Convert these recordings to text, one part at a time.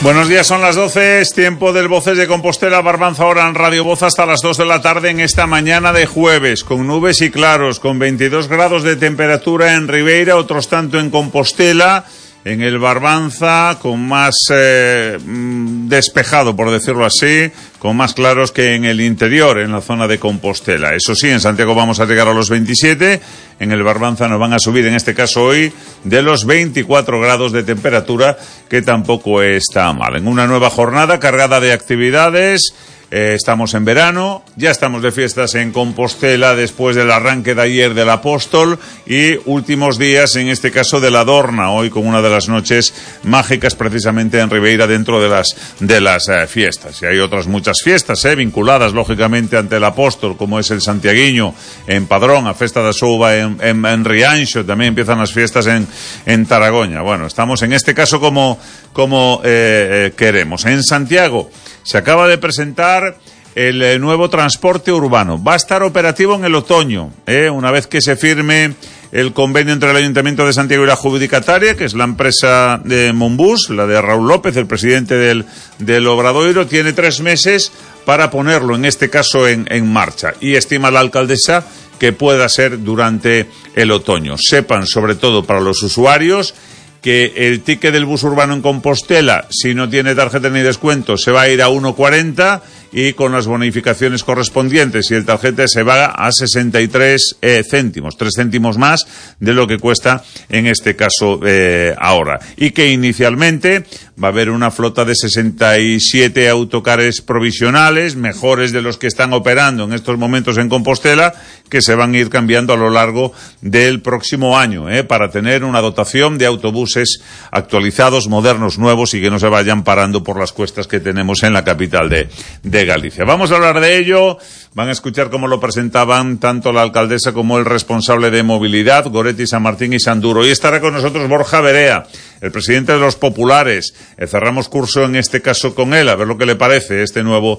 Buenos días, son las 12, es tiempo del Voces de Compostela, Barbanza ahora en Radio Voz hasta las 2 de la tarde en esta mañana de jueves, con nubes y claros, con 22 grados de temperatura en Ribeira, otros tanto en Compostela, en el Barbanza, con más despejado, por decirlo así, con más claros que en el interior, en la zona de Compostela. Eso sí, en Santiago vamos a llegar a los 27, en el Barbanza nos van a subir, en este caso hoy, de los 24 grados de temperatura, que tampoco está mal. En una nueva jornada cargada de actividades. Estamos en verano, ya estamos de fiestas en Compostela después del arranque de ayer del Apóstol y últimos días, en este caso, de la Dorna, hoy con una de las noches mágicas precisamente en Ribeira dentro de las fiestas. Y hay otras muchas fiestas vinculadas lógicamente ante el Apóstol, como es el Santiaguiño en Padrón, a Festa da Souba en Rianxo, también empiezan las fiestas en Taragoña. Bueno, estamos en este caso como queremos. En Santiago se acaba de presentar el nuevo transporte urbano. Va a estar operativo en el otoño, una vez que se firme el convenio entre el Ayuntamiento de Santiago y la adjudicataria, que es la empresa de Monbus, la de Raúl López, el presidente del Obradoiro. Tiene 3 meses para ponerlo, en este caso, en marcha. Y estima la alcaldesa que pueda ser durante el otoño. Sepan, sobre todo para los usuarios, que el ticket del bus urbano en Compostela, si no tiene tarjeta ni descuento, se va a ir a 1,40 y con las bonificaciones correspondientes, y el tarjeta se va a 63 céntimos, 3 céntimos más de lo que cuesta en este caso ahora. Y que inicialmente va a haber una flota de 67 autocares provisionales, mejores de los que están operando en estos momentos en Compostela, que se van a ir cambiando a lo largo del próximo año, para tener una dotación de autobuses actualizados, modernos, nuevos y que no se vayan parando por las cuestas que tenemos en la capital de Galicia. Vamos a hablar de ello. Van a escuchar cómo lo presentaban tanto la alcaldesa como el responsable de movilidad, Goretti, San Martín y Sanduro. Y estará con nosotros Borja Berea, el presidente de los Populares. Cerramos curso en este caso con él, a ver lo que le parece este nuevo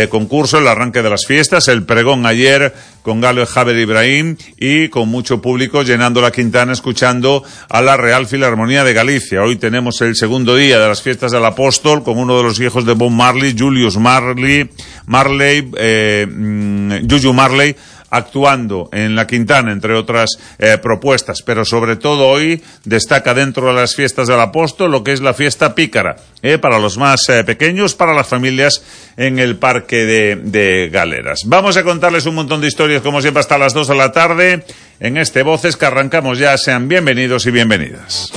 concurso, el arranque de las fiestas, el pregón ayer con Galo y Javier Ibrahim y con mucho público llenando la Quintana escuchando a la Real Filarmonía de Galicia. Hoy tenemos el segundo día de las fiestas del Apóstol con uno de los hijos de Bob Marley, Julius Marley, Juju Marley, actuando en la Quintana, entre otras propuestas, pero sobre todo hoy destaca dentro de las fiestas del Apóstol lo que es la fiesta pícara, para los más pequeños, para las familias en el Parque de Galeras. Vamos a contarles un montón de historias, como siempre, hasta las 2 de la tarde, en este Voces que arrancamos ya. Sean bienvenidos y bienvenidas.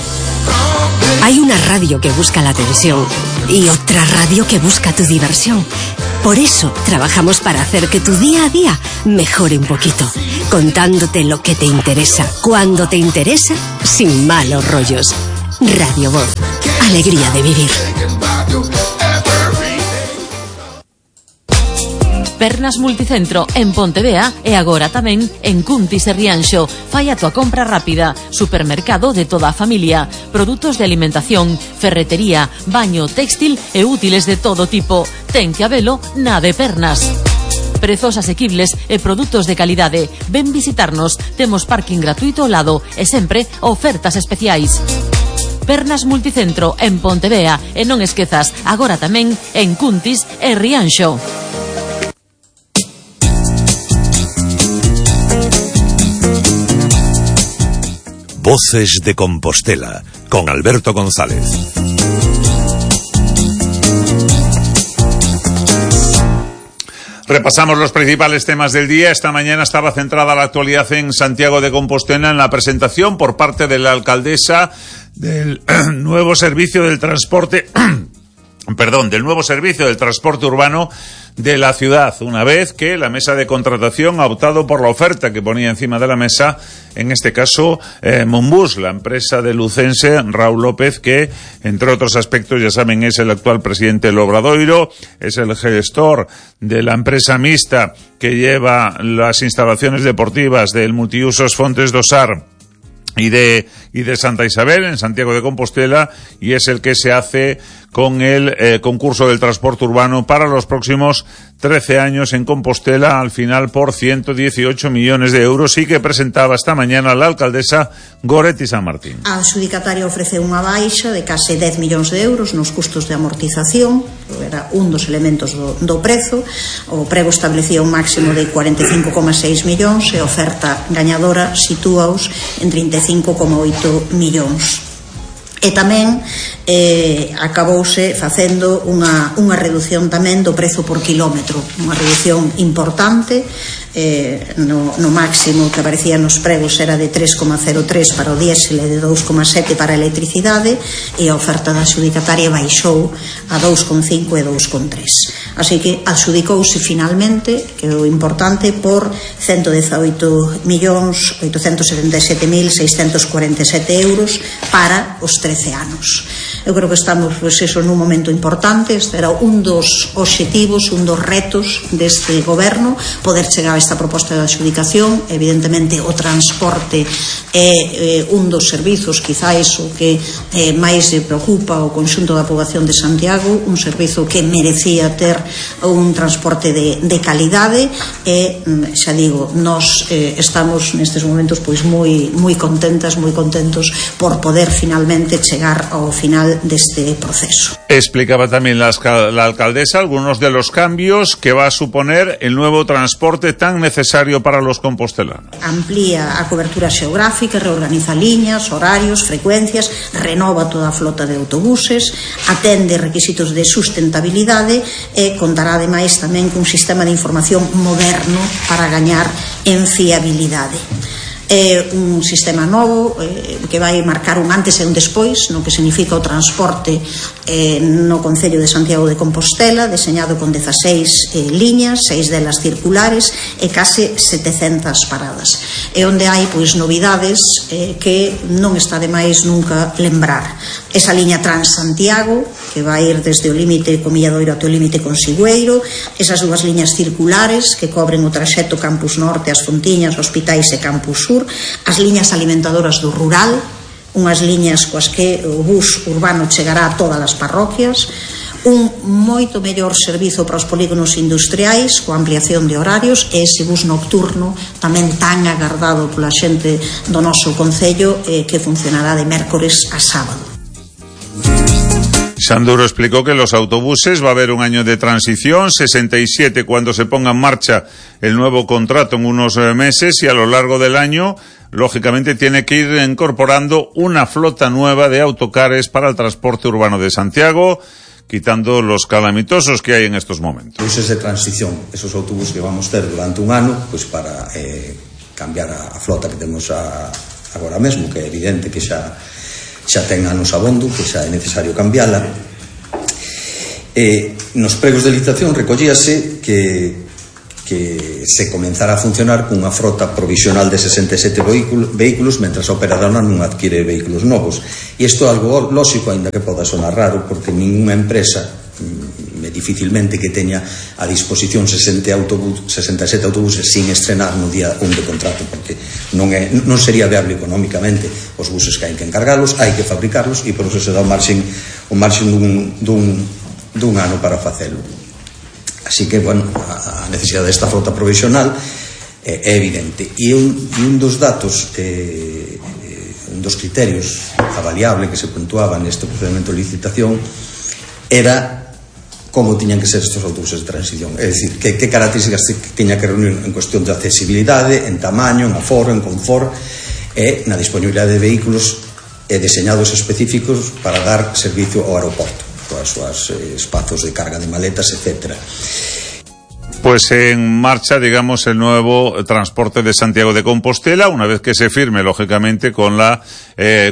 Hay una radio que busca la atención y otra radio que busca tu diversión. Por eso trabajamos para hacer que tu día a día mejore un poquito, contándote lo que te interesa, cuando te interesa, sin malos rollos. Radio Voz, alegría de vivir. Pernas Multicentro en Pontevea e agora tamén en Cuntis e Rianxo. Fai a tua compra rápida. Supermercado de toda a familia. Produtos de alimentación, ferretería, baño, textil e útiles de todo tipo. Ten que habelo na de Pernas. Prezos asequibles e produtos de calidade. Ven visitarnos. Temos parking gratuito ao lado e sempre ofertas especiais. Pernas Multicentro en Pontevea e non esquezas, agora tamén en Cuntis e Rianxo. Voces de Compostela, con Alberto González. Repasamos los principales temas del día. Esta mañana estaba centrada la actualidad en Santiago de Compostela en la presentación por parte de la alcaldesa del nuevo servicio del transporte urbano de la ciudad, una vez que la mesa de contratación ha optado por la oferta que ponía encima de la mesa, en este caso Monbus, la empresa de lucense Raúl López, que entre otros aspectos, ya saben, es el actual presidente del Obradoiro, es el gestor de la empresa mixta que lleva las instalaciones deportivas del Multiusos Fontes do Sar y y de Santa Isabel, en Santiago de Compostela, y es el que se hace con el concurso del transporte urbano para los próximos 13 años en Compostela, al final por 118 millones de euros, y que presentaba esta mañana la alcaldesa Goretti San Martín. A adxudicataria ofrece unha baixa de case 10 millóns de euros nos custos de amortización, era un dos elementos do prezo. O prego establecía un máximo de 45,6 millóns e a oferta gañadora sitúaos en 35,8 millóns. E tamén acabouse facendo unha reducción tamén do prezo por kilómetro, unha reducción importante. No máximo que aparecía nos pregos era de 3,03 para o diésel e de 2,7 para a electricidade, e a oferta da adxudicataria baixou a 2,5 e 2,3. Así que adxudicouse finalmente, que é o importante, por 118.877.647 euros para os 13 anos. Eu creo que estamos, pois eso, nun momento importante. Este era un dos obxectivos, un dos retos deste goberno, poder chegar a esta proposta de adxudicación. Evidentemente o transporte é un dos servizos, quizás o que máis preocupa o conxunto da poboación de Santiago, un servizo que merecía ter un transporte de calidade, e xa digo, nós estamos nestes momentos pois moi contentas, moi contentos por poder finalmente chegar ao final deste proceso. Explicaba también la alcaldesa algunos de los cambios que va a suponer el nuevo transporte tan necesario para los compostelanos. Amplía a cobertura xeográfica, reorganiza liñas, horarios, frecuencias, renova toda a flota de autobuses, atende requisitos de sustentabilidade e contará ademais tamén cun sistema de información moderno para gañar en fiabilidade. É un sistema novo que vai marcar un antes e un despois no que significa o transporte no Concello de Santiago de Compostela, deseñado con 16 liñas, 6 delas circulares e case 700 paradas, e onde hai pois novidades que non está de máis nunca lembrar. Esa liña Transantiago, que vai ir desde o límite con Milladoiro até o límite con Sigüeiro, esas dúas liñas circulares que cobren o traxecto Campus Norte, As Fontiñas, Hospitais e Campus Sur, as liñas alimentadoras do rural, unhas liñas coas que o bus urbano chegará a todas as parroquias, un moito mellor servizo para os polígonos industriais coa ampliación de horarios, e ese bus nocturno tamén tan agardado pola xente do noso concello, que funcionará de mércores a sábado. Sanduro explicó que los autobuses va a haber un año de transición, 67 cuando se ponga en marcha el nuevo contrato en unos meses, y a lo largo del año, lógicamente, tiene que ir incorporando una flota nueva de autocares para el transporte urbano de Santiago, quitando los calamitosos que hay en estos momentos. Autobuses de transición, esos autobuses que vamos a ter durante un ano, pues para cambiar a flota que temos agora mesmo, que é evidente que xa ten anos abondo, que xa é necesario cambiala. Nos pregos de licitación recollíase que se comenzara a funcionar cunha frota provisional de 67 vehículos, mentras a operadora non adquire vehículos novos. E isto é algo lógico, aínda que poda sonar raro, porque ninguna empresa dificilmente que teña a disposición 67 autobuses sin estrenar no día 1 de contrato, porque non sería viable económicamente. Os buses que hai que encargalos, hai que fabricarlos, e por eso se dá o marxen dun ano para facelo. Así que, bueno, a necesidade desta frota provisional é evidente. E un dos datos, un dos criterios avaliable que se puntuaba neste procedimento de licitación era como tiñan que ser estes autobuses de transición, é dicir, que características tiña que reunir en cuestión de accesibilidade, en tamaño, en aforo, en confort e na disponibilidade de vehículos deseñados específicos para dar servicio ao aeroporto, coas súas espazos de carga de maletas, etcétera. Pues en marcha, digamos, el nuevo transporte de Santiago de Compostela, una vez que se firme, lógicamente, con la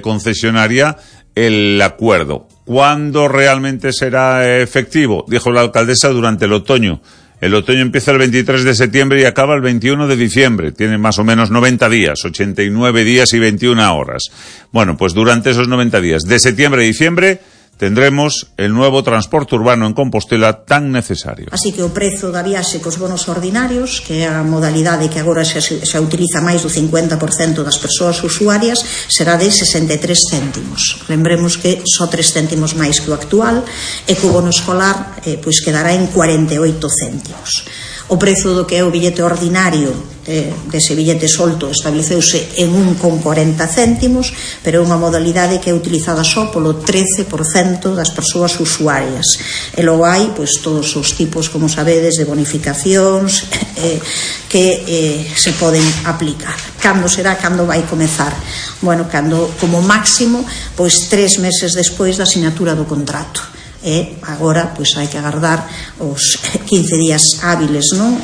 concesionaria el acuerdo. ¿Cuándo realmente será efectivo? Dijo la alcaldesa, durante el otoño. El otoño empieza el 23 de septiembre y acaba el 21 de diciembre. Tiene más o menos 90 días, 89 días y 21 horas. Bueno, pues durante esos 90 días, de septiembre a diciembre, tendremos el nuevo transporte urbano en Compostela tan necesario. Así que o prezo da viaxe cos bonos ordinarios, que é a modalidade que agora xa utiliza máis do 50% das persoas usuarias, será de 63 céntimos. Lembremos que só 3 céntimos máis que o actual, e que o bono escolar pois quedará en 48 céntimos. O prezo do que é o billete ordinario dese billete solto estableceuse en 1,40 céntimos, pero é unha modalidade que é utilizada só polo 13% das persoas usuarias. E logo hai pois todos os tipos, como sabedes, de bonificacións que se poden aplicar. Cando será? Cando vai comezar? Bueno, cando como máximo pois 3 meses despois da sinatura do contrato. E agora pois hai que agardar os 15 días hábiles, non?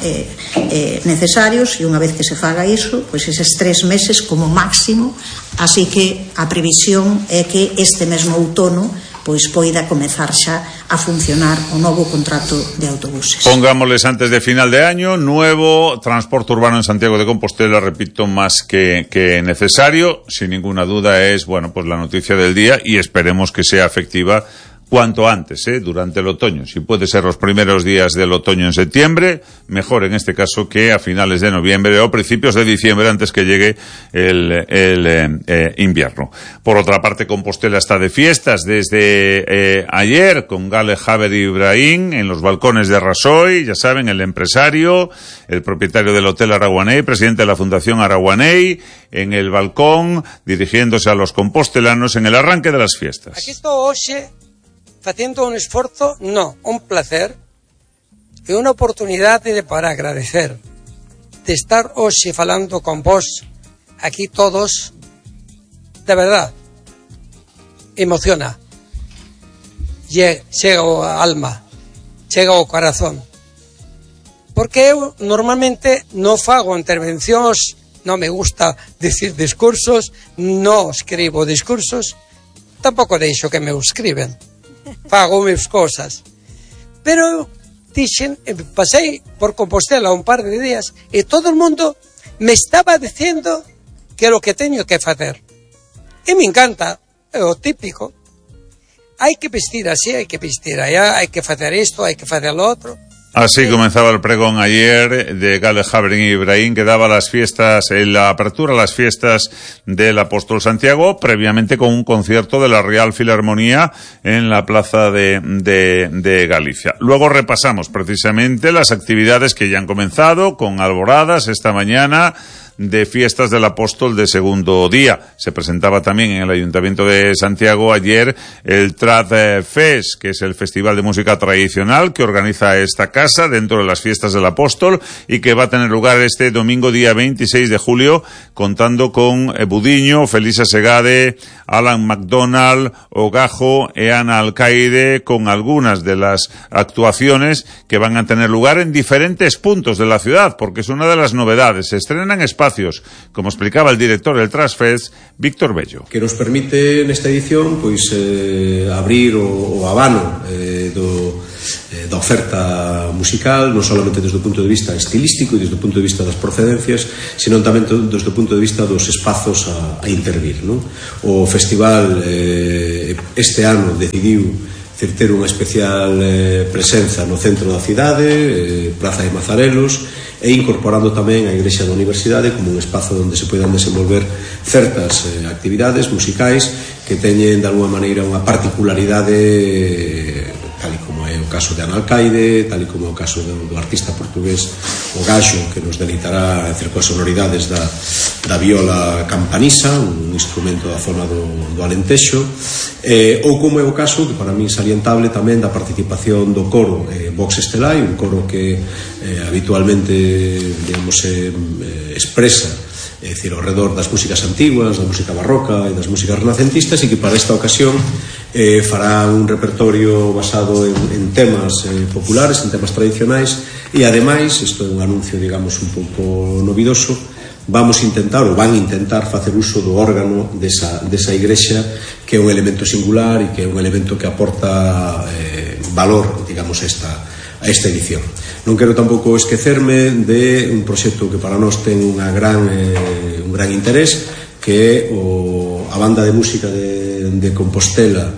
Necesarios, e unha vez que se faga iso, pois eses 3 meses como máximo, así que a previsión é que este mesmo outono pois poida comezar xa a funcionar o novo contrato de autobuses. Pongámosles antes de final de año, nuevo transporte urbano en Santiago de Compostela, repito, más que necesario, sin ninguna duda es, bueno, pues la noticia del día, y esperemos que sea efectiva cuanto antes, durante el otoño. Si puede ser los primeros días del otoño en septiembre, mejor en este caso que a finales de noviembre o principios de diciembre, antes que llegue el invierno. Por otra parte, Compostela está de fiestas desde ayer, con Gale Haber Ibrahim en los balcones de Rasoy, ya saben, el empresario, el propietario del Hotel Araguaney, presidente de la Fundación Araguaney, en el balcón, dirigiéndose a los compostelanos en el arranque de las fiestas. Aquí estou hoxe facendo un esforzo, un placer e unha oportunidade para agradecer de estar hoxe falando con vos aquí todos, de verdad emociona, chega ao alma, chega ao corazón, porque eu normalmente non fago intervencións, non me gusta decir discursos, non escribo discursos, tampouco deixo que me escriben, fago mis cosas, pero dixen, pasei por Compostela un par de días e todo o mundo me estaba dicindo que é o que teño que facer, e me encanta, é o típico, hai que vestir así, hai que vestir allá, hai que facer isto, hai que facer lo outro. Así comenzaba el pregón ayer de Gale Haber Ibrahim, que daba las fiestas, la apertura a las fiestas del Apóstol Santiago, previamente con un concierto de la Real Filarmonía en la Plaza de Galicia. Luego repasamos precisamente las actividades que ya han comenzado, con alboradas esta mañana de fiestas del Apóstol de segundo día. Se presentaba también en el Ayuntamiento de Santiago ayer el Trad Fest, que es el festival de música tradicional que organiza esta casa dentro de las fiestas del Apóstol y que va a tener lugar este domingo día 26 de julio, contando con Budiño, Felisa Segade, Alan McDonald, Ogajo e Ana Alcaide, con algunas de las actuaciones que van a tener lugar en diferentes puntos de la ciudad, porque es una de las novedades. Se estrenan espacios, como explicaba el director del Trasfest, Víctor Bello. Que nos permite nesta edición pois abrir o abano da oferta musical, non solamente desde o punto de vista estilístico e desde o punto de vista das procedencias, sino tamén desde o punto de vista dos espazos a intervir, non? O festival este ano decidiu ter unha especial presenza no centro da cidade, Praza de Mazarelos, e incorporando tamén a Igrexa da Universidade como un espazo onde se poidan desenvolver certas actividades musicais que teñen de alguma maneira unha particularidade, tal como é o caso de Ana Alcaide, tal como é o caso do artista portugués Ogaxo, que nos deleitará coas sonoridades da viola campanisa, un instrumento da zona do Alentexo, ou como é o caso, que para min salientable tamén, da participación do coro Vox Estelai, un coro que habitualmente, digamos, expresa, é dicir, ao redor das músicas antiguas, da música barroca e das músicas renacentistas, e que para esta ocasión fará un repertorio basado en temas populares, en temas tradicionais, e ademais, isto é un anuncio, digamos, un pouco novidoso, vamos intentar, ou van intentar facer uso do órgano desa igrexa, que é un elemento singular e que é un elemento que aporta valor, digamos, a esta edición. Non quero tampouco esquecerme de un proxecto que para nós ten un gran interés, que é a banda de música de Compostela,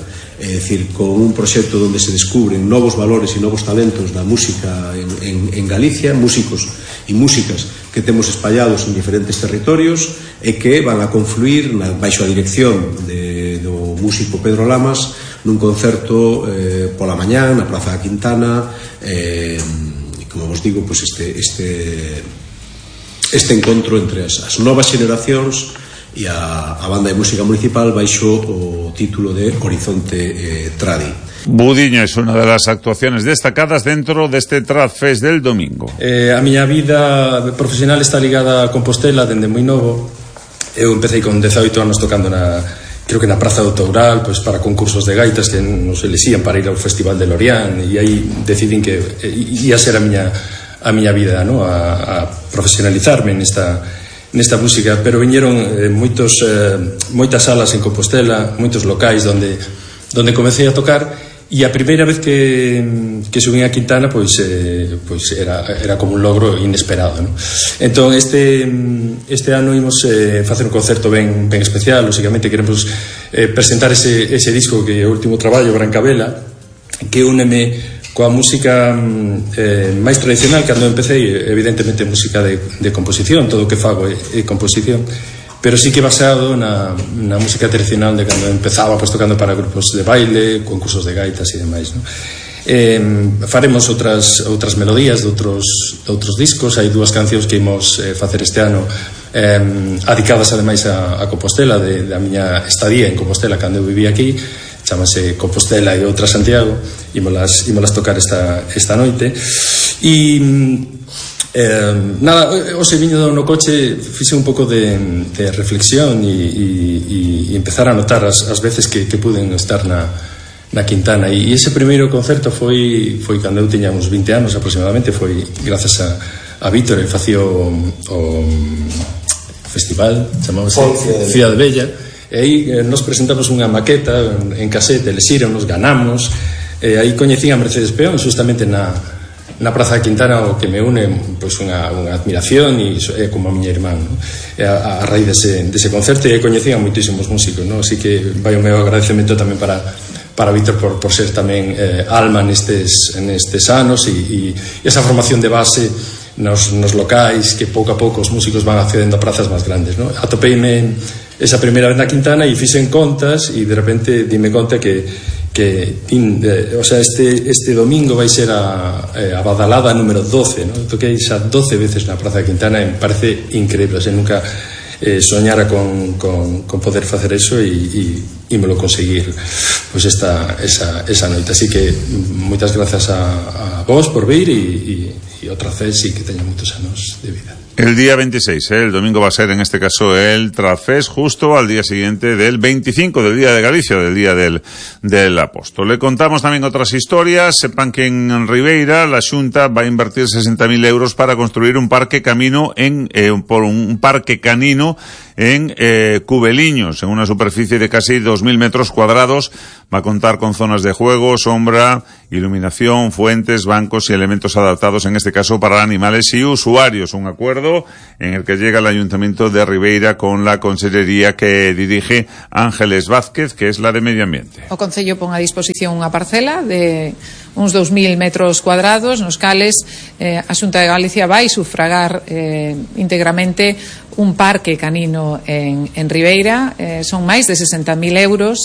É dicir, con un proxecto onde se descubren novos valores e novos talentos da música en Galicia, músicos e músicas que temos espallados en diferentes territorios e que van a confluir baixo a dirección do músico Pedro Lamas nun concerto pola mañá na Praza da Quintana, como vos digo, pues este encontro entre as novas xeneracións e a banda de música municipal baixo o título de Horizonte Tradi. Budiño es una de las actuaciones destacadas dentro de este Trad Fest del domingo. A miña vida profesional está ligada a Compostela dende moi novo. Eu empecé con 18 anos tocando creo que na Praza do Toural, pues para concursos de gaitas que nos elixían para ir ao Festival de Lorient, e aí decidín que ia ser a miña vida, ¿no? a profesionalizarme nesta música, pero viñeron moitas salas en Compostela, moitos locais onde comecei a tocar, e a primeira vez que subín a Quintana pois era como un logro inesperado, ¿no? Entón este ano imos facer un concerto ben especial. Lógicamente queremos presentar ese disco que é o último traballo, Brancavela, que úneme coa música máis tradicional. Cando empecé, evidentemente, música de composición, todo o que fago é composición, pero sí que basado na música tradicional de cando empezaba, pues, tocando para grupos de baile, concursos de gaitas e demais, ¿no? Faremos outras melodías de outros discos. Hai 2 cancións que imos facer este ano adicadas ademais a Compostela, da miña estadía en Compostela cando eu vivía aquí. Chámase Compostela e outra Santiago. Ímolas tocar esta noite. E nada, hoxe viño no coche, fixe un pouco de reflexión e empezar a notar as veces que puden estar na Quintana, e ese primeiro concerto foi cando eu tiña uns 20 anos aproximadamente. Foi grazas a Víctor. Ele facía o festival, chamábase Cidade Bella, e aí nos presentamos unha maqueta en casete, eles nos ganamos, e aí coñecín a Mercedes Peón justamente na Praza da Quintana, o que me une pois unha admiración, e é como a miña irmán, ¿no? A raíz dese concerto, e coñecín a moitísimos músicos, ¿no? Así que vai o meu agradecemento tamén para Víctor por ser tamén alma nestes anos, e esa formación de base nos locais, que pouco a pouco os músicos van accedendo a prazas máis grandes, ¿no? Atopeime esa primeira vez na Quintana e fixen contas, e de repente dime conta que o sea, este domingo vai ser a badalada número 12, ¿no? Toquei xa 12 veces na Praza de Quintana, e me parece increíble. O sea, nunca soñara con poder facer eso, e me lo conseguir pues esa noite. Así que moitas grazas a vos por vir, e outra vez, e que teña moitos anos de vida. El día 26, el domingo va a ser en este caso el Trafés, justo al día siguiente del 25 del Día de Galicia, del Día del Apóstol. Le contamos también otras historias. Sepan que en Ribeira la Xunta va a invertir 60.000 euros para construir un parque canino en Cubeliños, en una superficie de casi 2.000 metros cuadrados. Va a contar con zonas de juego, sombra, iluminación, fuentes, bancos y elementos adaptados, en este caso para animales y usuarios. Un acuerdo en el que llega el Ayuntamiento de Ribeira con la consellería que dirige Ángeles Vázquez, que es la de Medio Ambiente. O Concello pon a disposición unha parcela de uns 2.000 metros cuadrados, nos cales a Xunta de Galicia vai sufragar íntegramente un parque canino en Ribeira. Son máis de 60.000 euros,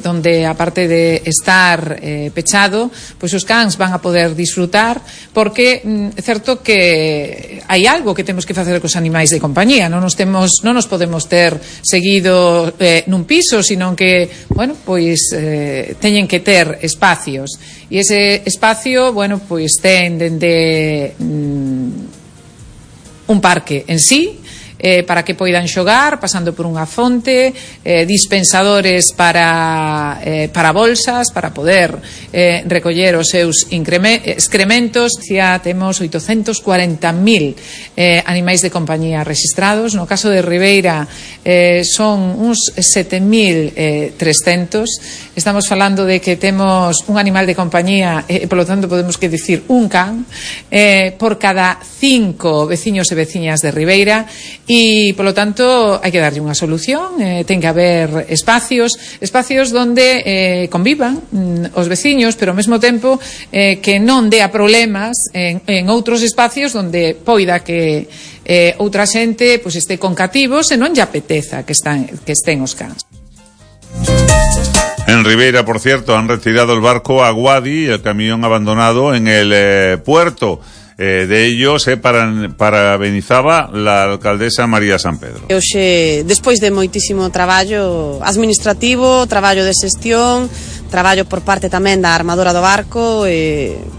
donde aparte de estar pechado, pois os cans van a poder disfrutar, porque é certo que hai algo que temos que facer cos animais de compañía. Non nos podemos ter seguido nun piso, sino que, bueno, pois teñen que ter espacios, e ese espacio, bueno, pois ten dende un parque en sí, para que poidan xogar, pasando por unha fonte, dispensadores para bolsas, para poder recoller os seus excrementos. Temos 840.000 animais de compañía registrados. No caso de Ribeira son uns 7.300. estamos falando de que temos un animal de compañía e, polo tanto, podemos que dicir un can por cada 5 veciños e veciñas de Ribeira e, polo tanto, hai que darlle unha solución. Ten que haber espacios donde convivan os veciños, pero ao mesmo tempo que non dea problemas en outros espacios donde poida que outra xente pois este con cativos e non lle apeteza que estén os cans. En Ribeira, por cierto, han retirado el barco Aguadi y el camión abandonado en el puerto. De ellos parabenizaba la alcaldesa María San Pedro. Hoxe, despois de moitísimo traballo administrativo, traballo de xestión, traballo por parte tamén da armadora do barco,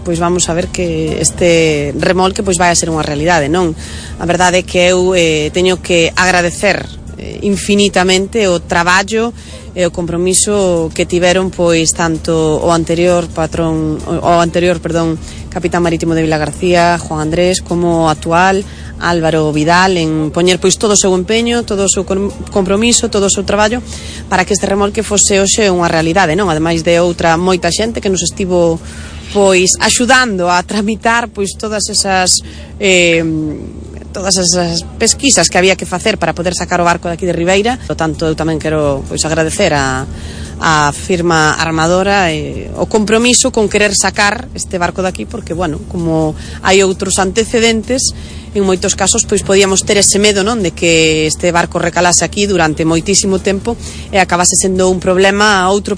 pois vamos a ver que este remolque pois vai a ser unha realidade, non? A verdade é que eu teño que agradecer infinitamente o traballo e o compromiso que tiveron pois tanto o anterior capitán marítimo de Vilagarcía, Juan Andrés, como o actual Álvaro Vidal, en poñer pois todo o seu empeño, todo o seu compromiso, todo o seu traballo para que este remolque fose hoxe unha realidade, non? Ademais de outra moita xente que nos estivo pois axudando a tramitar pois todas esas pesquisas que había que facer para poder sacar o barco de aquí de Ribeira. Por tanto, eu tamén quero pois agradecer a firma armadora o compromiso con querer sacar este barco de aquí, porque, bueno, como hai outros antecedentes, en moitos casos pois podíamos ter ese medo, non, de que este barco recalase aquí durante moitísimo tempo e acabase sendo outro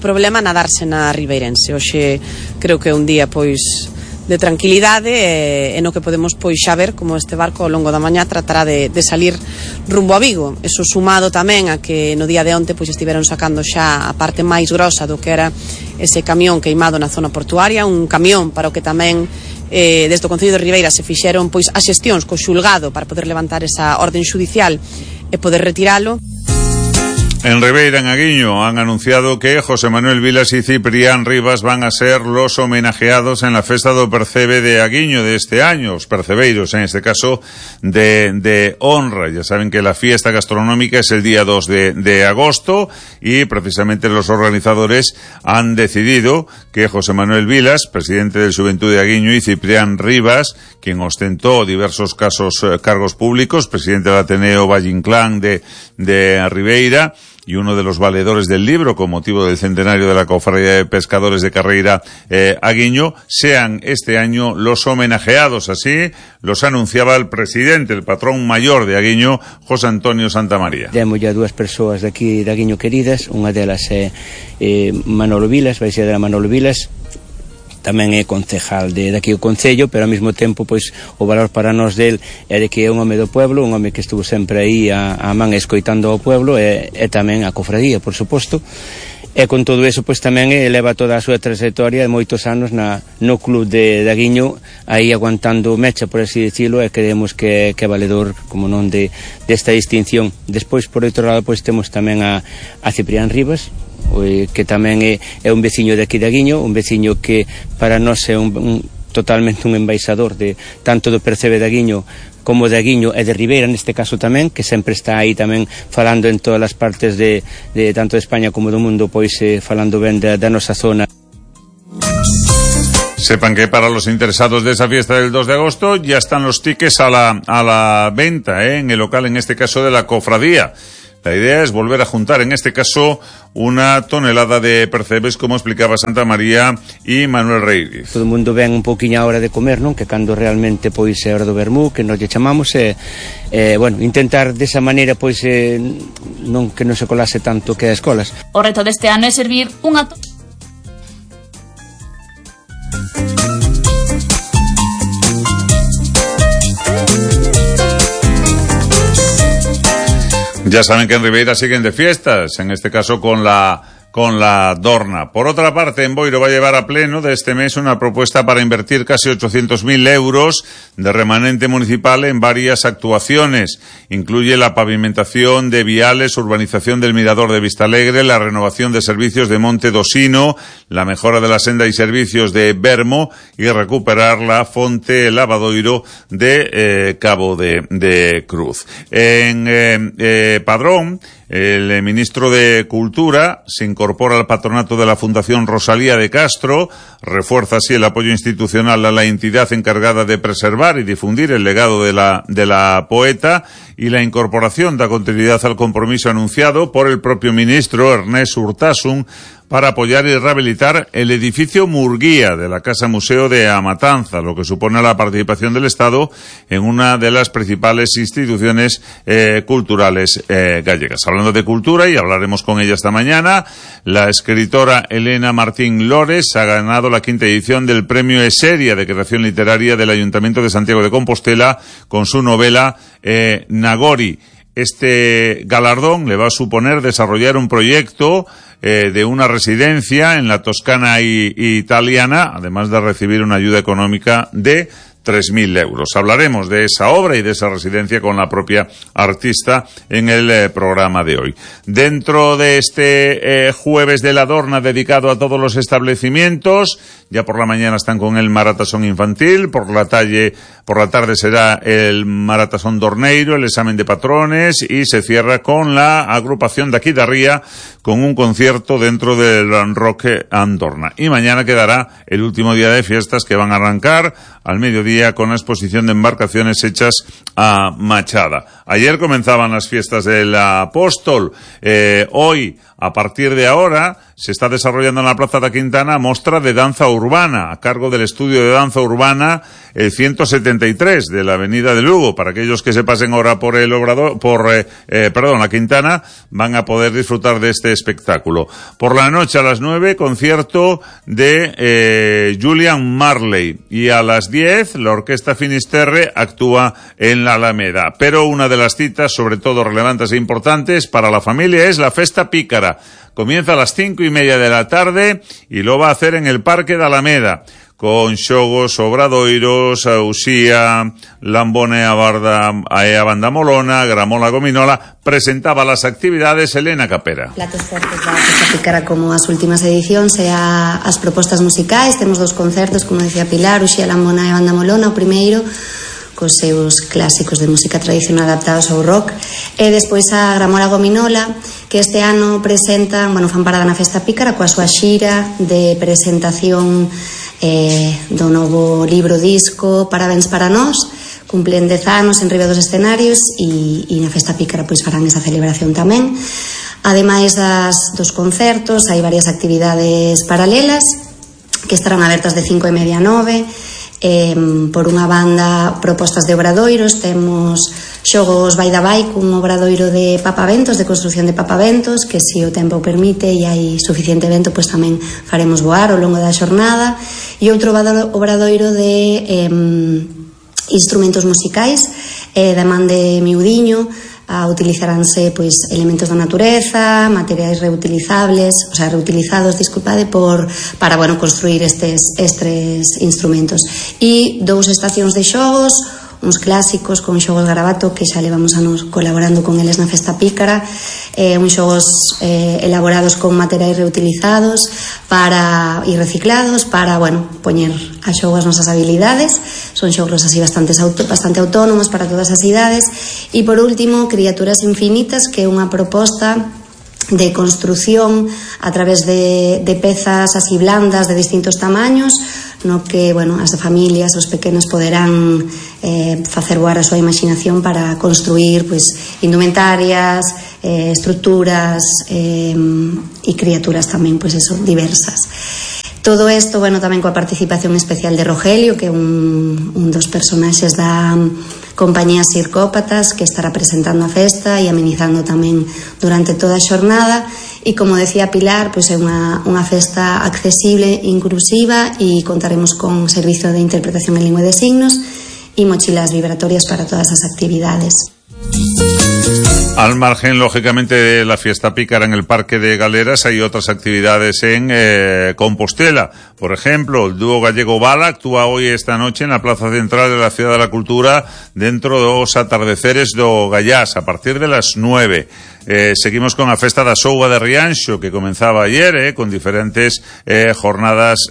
problema nadarse na Ribeirense. Hoxe creo que é un día pois de tranquilidade e no que podemos pois xa ver como este barco ao longo da mañá tratará de salir rumbo a Vigo. Eso sumado tamén a que no día de onte pois estiveron sacando xa a parte máis grosa do que era ese camión queimado na zona portuaria, un camión para o que tamén desde o Concello de Ribeira se fixeron pois as xestións co xulgado para poder levantar esa orden xudicial e poder retiralo. En Ribeira, en Aguiño, han anunciado que José Manuel Vilas y Ciprián Rivas van a ser los homenajeados en la Festa do Percebe de Aguiño de este año, os percebeiros, en este caso, de honra. Ya saben que la fiesta gastronómica es el día 2 de agosto y precisamente los organizadores han decidido que José Manuel Vilas, presidente del Xuventud de Aguiño, y Ciprián Rivas, quien ostentó diversos cargos públicos, presidente del Ateneo Valle Inclán de Ribeira, y uno de los valedores del libro con motivo del centenario de la Cofradía de Pescadores de Carreira Aguiño, sean este año los homenajeados. Así los anunciaba el presidente, el patrón mayor de Aguiño, José Antonio Santamaría. Temos ya dúas persoas de aquí de Aguiño queridas, unha delas é Manolo Vilas, vai ser Manolo Vilas, tamén é concejal de aquí o Concello, pero ao mesmo tempo pois o valor para nós del é de que é un home do pueblo, un home que estuvo sempre aí a man escoitando ao pueblo e tamén a cofradía, por suposto. E con todo eso pois tamén eleva toda a súa trayectoria de moitos anos no club de Aguiño, aí aguantando mecha, por así dicilo, e creemos que é valedor, como non, desta distinción. Despois, por outro lado, pois temos tamén a Ciprián Rivas, que tamén é un veciño de aquí de Aguiño, un veciño que para nós é totalmente un embaixador de tanto do Percebe de Aguiño como de Aguiño e de Ribeira neste caso tamén, que sempre está aí tamén falando en todas as partes de tanto de España como do mundo, pois falando ben da nosa zona. Sepan que para los interesados de esa fiesta del 2 de agosto ya están los tickets a la venta en el local, en este caso de la cofradía. La idea es volver a juntar, en este caso, una tonelada de percebes, como explicaba Santa María y Manuel Reíriz. Todo o mundo ven un pouquiño a hora de comer, non? Que cando realmente pois é hora do vermú, que nos lle chamamos, bueno, intentar desa maneira pois non que non se colase tanto que as escolas. O reto deste ano é servir unha Ya saben que en Ribeira siguen de fiestas, en este caso con la Dorna. Por otra parte, en Boiro va a llevar a pleno de este mes una propuesta para invertir casi 800.000 euros de remanente municipal en varias actuaciones. Incluye la pavimentación de viales, urbanización del Mirador de Vistalegre, la renovación de servicios de Monte Dosino, la mejora de la senda y servicios de Bermo y recuperar la fonte Lavadoiro de Cabo de Cruz. En Padrón, El ministro de Cultura se incorpora al patronato de la Fundación Rosalía de Castro, refuerza así el apoyo institucional a la entidad encargada de preservar y difundir el legado de la poeta, y la incorporación da continuidad al compromiso anunciado por el propio ministro Ernest Urtasun para apoyar y rehabilitar el edificio Murguía de la Casa Museo de Amatanza, lo que supone la participación del Estado en una de las principales instituciones culturales gallegas. Hablando de cultura, y hablaremos con ella esta mañana, la escritora Elena Martín Lores ha ganado la 5ª edición del Premio Eseria de Creación Literaria del Ayuntamiento de Santiago de Compostela con su novela Nagori. Este galardón le va a suponer desarrollar un proyecto de una residencia en la Toscana italiana, además de recibir una ayuda económica de 3.000 euros. Hablaremos de esa obra y de esa residencia con la propia artista en el programa de hoy. Dentro de este jueves de la Dorna dedicado a todos los establecimientos, ya por la mañana están con el Maratasón Infantil, por la tarde será el Maratasón Dorneiro, el examen de patrones, y se cierra con la agrupación de aquí de Ría con un concierto dentro del Roque Andorna. Y mañana quedará el último día de fiestas, que van a arrancar al mediodía con la exposición de embarcaciones hechas a machada. Ayer comenzaban las fiestas del Apóstol. Hoy, a partir de ahora, se está desarrollando en la Plaza de Quintana mostra de danza urbana, a cargo del estudio de danza urbana 173 de la Avenida de Lugo. Para aquellos que se pasen ahora por la Quintana, van a poder disfrutar de este espectáculo. Por la noche a las 9, concierto de Julian Marley, y a las 10 la Orquesta Finisterre actúa en la Alameda. Pero una de las citas, sobre todo relevantes e importantes para la familia, es la Festa Pícara. Comienza a las 5:30 de la tarde y lo va a hacer en el Parque de Alameda, con xogos, obradoiros, Uxía, Lambone a Banda Molona, Gramola Gominola. Presentaba las actividades Elena Capera. Platos fortes da Festa Pícara, como as últimas edicións, e as propostas musicais. Temos 2 concertos, como decía Pilar, Uxía, Lambona e Banda Molona. O primeiro cos seus clásicos de música tradicional adaptados ao rock, e despois a Gramola Gominola, que este ano presentan, fan parada na Festa Pícara coa súa xira de presentación do novo libro disco Parabéns para nós. Cumplen 10 anos en riba dos escenarios, e na Festa Pícara pois farán esa celebración tamén. Ademais dos concertos, hai varias actividades paralelas que estarán abertas de 5:30 a 9. Por unha banda, propostas de obradoiros. Temos xogos vai da vai, cun obradoiro de papaventos, de construción de papaventos, que se o tempo permite e hai suficiente vento, pois tamén faremos voar ao longo da xornada. E outro obradoiro de instrumentos musicais, da man de miudiño. Utilizaránse pois elementos da natureza, materiais reutilizados, para construir estes instrumentos. E 2 estacións de xogos, uns clásicos con xogos Garabato, que xa levamos anos colaborando con eles na Festa Pícara, uns xogos elaborados con materiais reutilizados e reciclados para, poñer a xogo as nosas habilidades. Son xogos así bastante autónomos para todas as idades. E por último, Criaturas Infinitas, que é unha proposta de construción a través de pezas así blandas de distintos tamaños, no que, as familias, os pequenos poderán facer voar a súa imaginación para construir indumentarias, estruturas e criaturas tamén diversas. Todo isto, tamén coa participación especial de Rogelio, que é un dos personaxes da compañía Circópatas, que estará presentando a festa e amenizando tamén durante toda a xornada. E como decía Pilar, é unha festa accesible, inclusiva, e contaremos con servicio de interpretación en lingua de signos e mochilas vibratorias para todas as actividades. Al margen, lógicamente, de la Fiesta Pícara en el Parque de Galeras, hay otras actividades en Compostela. Por ejemplo, el dúo gallego Bala actúa hoy esta noche en la Plaza Central de la Ciudad de la Cultura dentro dos atardeceres do Gallás, a partir de las 9. Seguimos con la Festa da Souga de Rianxo, que comenzaba ayer, con diferentes jornadas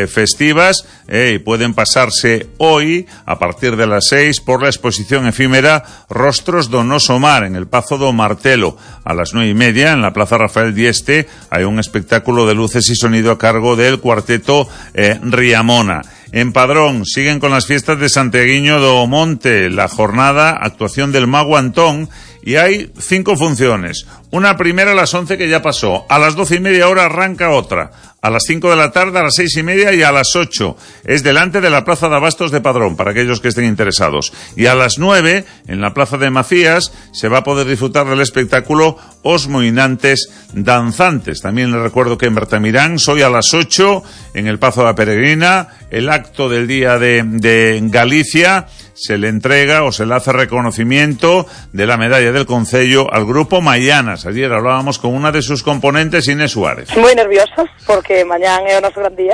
festivas, y pueden pasarse hoy, a partir de las 6, por la exposición efímera Rostros Encontros do Noso Mar en el Pazo do Martelo. A las 9:30 en la Plaza Rafael Dieste hay un espectáculo de luces y sonido a cargo del cuarteto Riamona. En Padrón siguen con las fiestas de Santiaguiño do Monte, la jornada actuación del Mago Antón, y hay 5 funciones. Una primera a las 11 que ya pasó, a las 12:30 arranca otra, a las 5 de la tarde, a las 6:30 y a las 8. Es delante de la Plaza de Abastos de Padrón, para aquellos que estén interesados. Y a las 9, en la Plaza de Macías, se va a poder disfrutar del espectáculo Os Moinantes Danzantes. También les recuerdo que en Bertamirán, hoy a las 8, en el Pazo de la Peregrina, el acto del Día de Galicia, se le entrega o se le hace reconocimiento de la medalla del Concello al grupo Maianas. Ayer hablábamos con una de sus componentes, Inés Suárez. Moi nerviosos, porque mañán é o noso gran día.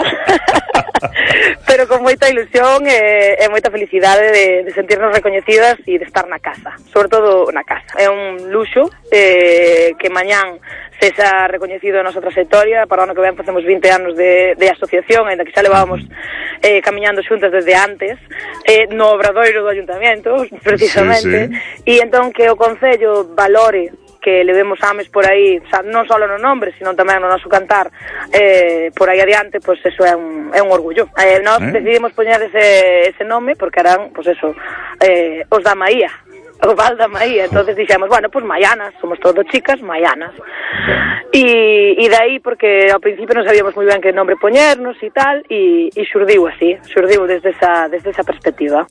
Pero con moita ilusión e moita felicidade de sentirnos recoñecidas e de estar na casa, sobre todo na casa. É un luxo que mañán sexa recoñecido a nosa trayectoria. Para o ano que ven facemos 20 anos de asociación, ainda que xa levábamos camiñando xuntas desde antes, no obradoiro do Ayuntamiento, precisamente, e entón que o Concello valore que levemos ames por aí, o sea, non só no nombre, sino tamén no noso cantar por aí adiante, pois eso é un orgullo. Nós decidimos poñer ese nome porque eran, pois eso, os da Maía, o Val da Maía. Entonces dixemos, bueno, pues Maianas, somos todos chicas, Maianas. E de aí, porque ao principio non sabíamos moi ben que nombre poñernos e tal, e xurdiu así, xurdiu desde esa perspectiva.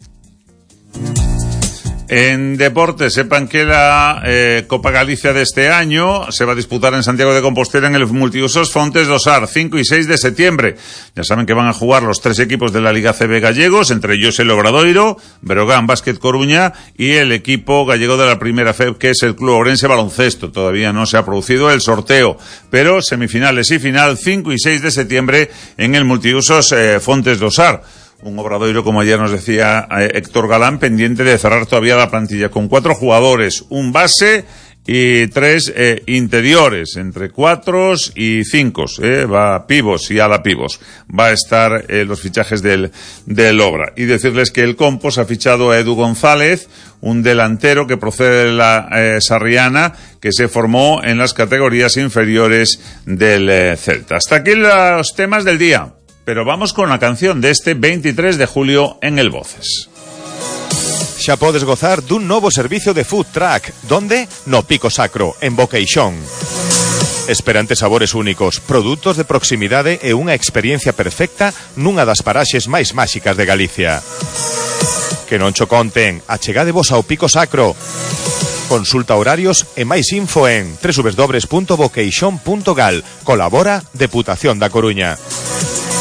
En deporte, sepan que la Copa Galicia de este año se va a disputar en Santiago de Compostela en el multiusos Fontes do Sar, 5 y 6 de septiembre. Ya saben que van a jugar los 3 equipos de la Liga CB gallegos, entre ellos el Obradoiro, Breogán Básquet Coruña y el equipo gallego de la Primera FEB, que es el Club Ourense Baloncesto. Todavía no se ha producido el sorteo, pero semifinales y final 5 y 6 de septiembre en el multiusos Fontes do Sar. Un Obradoiro, como ayer nos decía Héctor Galán, pendiente de cerrar todavía la plantilla con 4 jugadores, un base y 3 interiores, entre 4 y 5, va pivos y ala pivos. Va a estar los fichajes del Obra. Y decirles que el Compos ha fichado a Edu González, un delantero que procede de la Sarriana, que se formó en las categorías inferiores del Celta. Hasta aquí los temas del día. Pero vamos con la canción de este 23 de julio en el Voces. Xa podes gozar dun novo servicio de food truck. Donde? No Pico Sacro, en Boqueixón. Esperantes sabores únicos, produtos de proximidade e unha experiencia perfecta nunha das paraxes máis máxicas de Galicia. Que non cho conten, achegadevos ao Pico Sacro. Consulta horarios e máis info en www.boqueixón.gal. Colabora Deputación da Coruña.